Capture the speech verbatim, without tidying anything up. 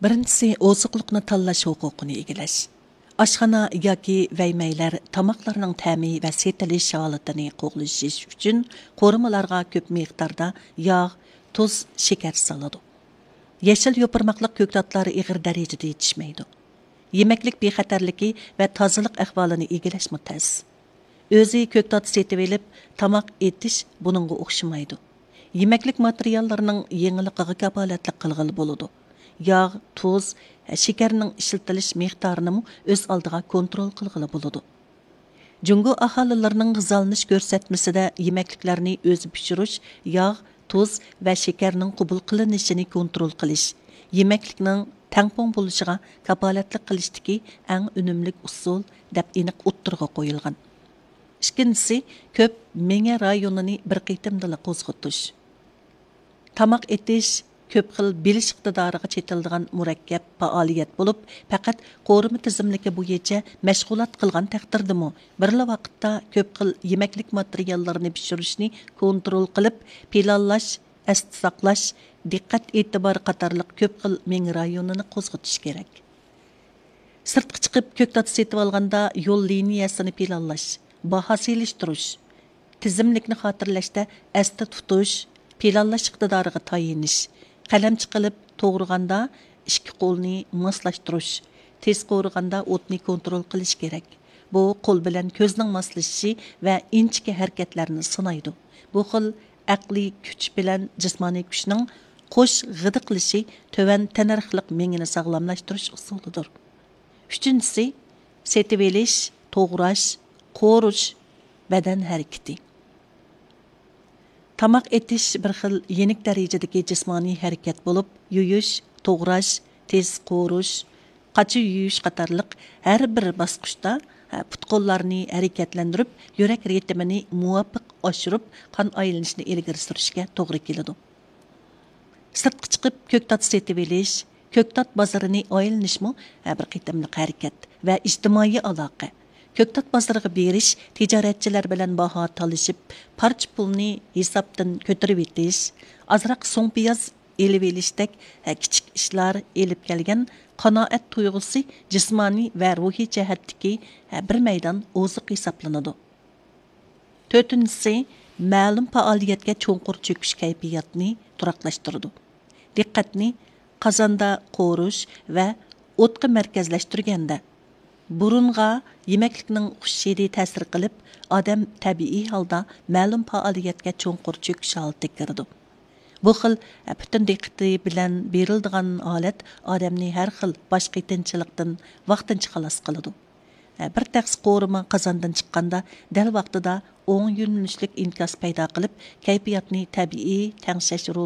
بىرىنچىسى، ئوزۇقلۇقنى تاللاش ھوقۇقىنى ئىگىلەش. ئاشخانا ياكى ۋەيمەيلەر تاماقلارنىڭ تەمى ۋە سېتىلىش ھالىتىنى قوغلىشىش ئۈچۈن قورۇمىلارغا كۆپ مىقداردا ياغ، تۇز، شېكەر سالىدۇ. يېشىل يوپۇرماقلىق كۆكتاتلار ئېغىر دەرىجىدە يېتىشمەيدۇ. يېمەكلىك بىخەتەرلىكى ۋە تازىلىق ئەھۋالىنى ئىگىلەشمۇ تەس. ئۆزى كۆكتات سېتىۋېلىپ تاماق ئېتىش بۇنىڭغا ئوخشىمايدۇ. يېمەكلىك ماتېرىياللىرىنىڭ يېڭىلىقىغا كاپالەتلىك قىلغىلى بولىدۇ. ياغ، تۇز، شېكەرنىڭ ئىشلىتىلىش مىقدارىنىمۇ ئۆز ئالدىغا كونترول قىلغىلى بولىدۇ. جۇڭگو ئاھالىلىرىنىڭ غىزالىنىش كۆرسەتمىسىدە يېمەكلىكلەرنى ئۆزى پىشۇرۇش، ياغ، تۇز ۋە شېكەرنىڭ قوبۇل قىلىنىشىنى كونترول قىلىش، يېمەكلىكنىڭ تەڭپۇڭ بولۇشىغا كاپالەتلىك قىلىشتىكى ئەڭ ئۈنۈملۈك ئۇسۇل، دەپ ئېنىق ئوتتۇرىغا قويۇلغان. ئىككىنچىسى، كۆپ مېڭە رايونىنى بىر قېتىمدىلا قوزغىتىش. تاماق ئېتىش كۆپ خىل بىلىش ئىقتىدارىغا چېتىلىدىغان مۇرەككەپ پائالىيەت بولۇپ، پەقەت قورۇما تىزىملىكى بويىچە مەشغۇلات قىلغان تەقدىردىمۇ، بىرلا ۋاقىتتا كۆپ خىل يېمەكلىك ماتېرىياللىرىنى پىشۇرۇشنى كونترول قىلىپ، پىلانلاش، ئەستە ساقلاش، دىققەت ئېتىبار قاتارلىق كۆپ خىل مېڭە رايونىنى قوزغىتىش كېرەك. سىرتقا چىقىپ كۆكتات سېتىۋالغاندا يول لىنىيەسىنى پىلانلاش، باھا سېلىشتۇرۇش، تىزىملىكنى خاتىرىلەشتە ئەستە تۇتۇش، پىلانلاش ئىقتىدارىغا تايىنىش، قەلەمچە قىلىپ توغرىغاندا ئىككى قولنى ماسلاشتۇرۇش، تېز قورۇغاندا ئوتنى كونترول قىلىش كېرەك. بۇ قول بىلەن كۆزنىڭ ماسلىشىشى ۋە ئىنچىكە ھەرىكەتلەرنى سىنايدۇ. بۇ خىل ئەقلىي كۈچ بىلەن جىسمانىي كۈچنىڭ قوش غىدىقلىشى تۆۋەن تەننەرخلىق مېڭىنى ساغلاملاشتۇرۇش ئۇسۇلىدۇر. ئۈچىنچىسى، سېتىۋېلىش، توغراش، قورۇش، بەدەن ھەرىكىتى. تاماق ئېتىش بىر خىل يېنىك دەرىجىدىكى جىسمانىي ھەرىكەت بولۇپ، يۇيۇش، توغراش، تېز قورۇش، قاچا يۇيۇش قاتارلىق ھەر بىر باسقۇچتا، ھە، پۇت-قوللارنى ھەرىكەتلەندۈرۈپ، يۈرەك رىتىمىنى مۇۋاپىق ئاشۇرۇپ، قان ئايلىنىشىنى ئىلگىرى سۈرۈشكە توغرا كېلىدۇ. سىرتقا چىقىپ كۆكتات سېتىۋېلىش، كۆكتات بازىرىنى ئايلىنىشمۇ ھە بىر قېتىملىق ھەرىكەت ۋە ئىجتىمائىي ئالاقە. كۆكتات بازىرىغا بېرىش، تىجارەتچىلەر بىلەن باھا تالىشىپ، پارچە پۇلنى ھېسابتىن كۆتۈرۈۋېتىش، ئازراق سوڭ پىياز ئېلىۋېلىشتەك، ھە، كىچىك ئىشلار ئېلىپ كەلگەن قانائەت تۇيغۇسى جىسمانىي ۋە روھىي جەھەتتىكى، ھە، بىر مەيدان ئوزۇق ھېسابلىنىدۇ. تۆتىنچىسى، مەلۇم پائالىيەتكە چوڭقۇر چۆكۈش كەيپىياتنى تۇراقلاشتۇرىدۇ. دىققەتنى قازاندا قورۇش ۋە ئوتقا مەركەزلەشتۈرگەندە، بۇرۇنغا يېمەكلىكنىڭ خۇش ھىدى تەسىر قىلىپ، ئادەم تەبىئىي ھالدا مەلۇم پائالىيەتكە چوڭقۇر چۆكۈش ھالىتىگە كىرىدۇ. بۇ خىل پۈتۈن دىققىتى بىلەن بېرىلىدىغان ھالەت ئادەمنى ھەر خىل باش قېتىنچىلىقتىن ۋاقتىنچە خالاس قىلىدۇ. بىر تەخسە قورۇما قازاندىن چىققاندا، دەل ۋاقتىدا ئوڭ يۆنىلىشلىك ئىنكاس پەيدا قىلىپ، كەيپىياتنى تەبىئىي تەڭشەش رولى